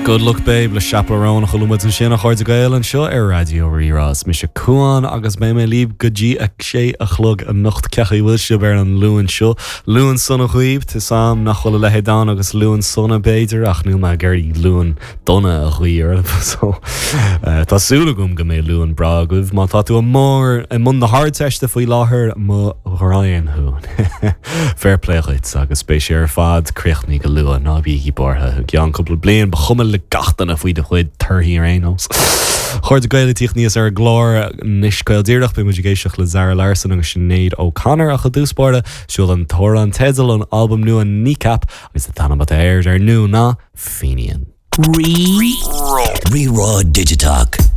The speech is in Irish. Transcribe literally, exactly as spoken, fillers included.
Good Luck Babe le Chappell Roan a chuala muid ansin a chairde Gael anseo ar Raidió Rí-Rá is mise Cuan agus beidh mé libh go dtí a sé a chlog anocht cén chaoi a bhfuil sibh ar an Luan seo. Luan sona dhaoibh Tá sam nach bhfuil a leithéid ann agus Luan sona b'fhéidir ach níl mé ag iarraidh Luan dona a ghuí oraibh so uh, Tá súil agam go mbeidh Luan breá agaibh má tá tú i mór i mbun na hArdteiste faoi láthair mo ghraidhin thú. Fair play dhuit agus beidh sé ar fad críochnaithe go luath ná bígí buartha ceann cúpla bliain ba chuma le gach duine faoi do chuid torthaí ar aon nós. Chairde Gael tíocht níos ar glár níos Gael díreach beidh muid ag éisteacht le Zara Larsson agus Sinéad O'Connor ach i dtús báire seo an t-amhrán teidil an albam nua Kneecap agus an t-ainm atá air ar ndóigh ná Fenian. Rí Rí-Rá Digiteach.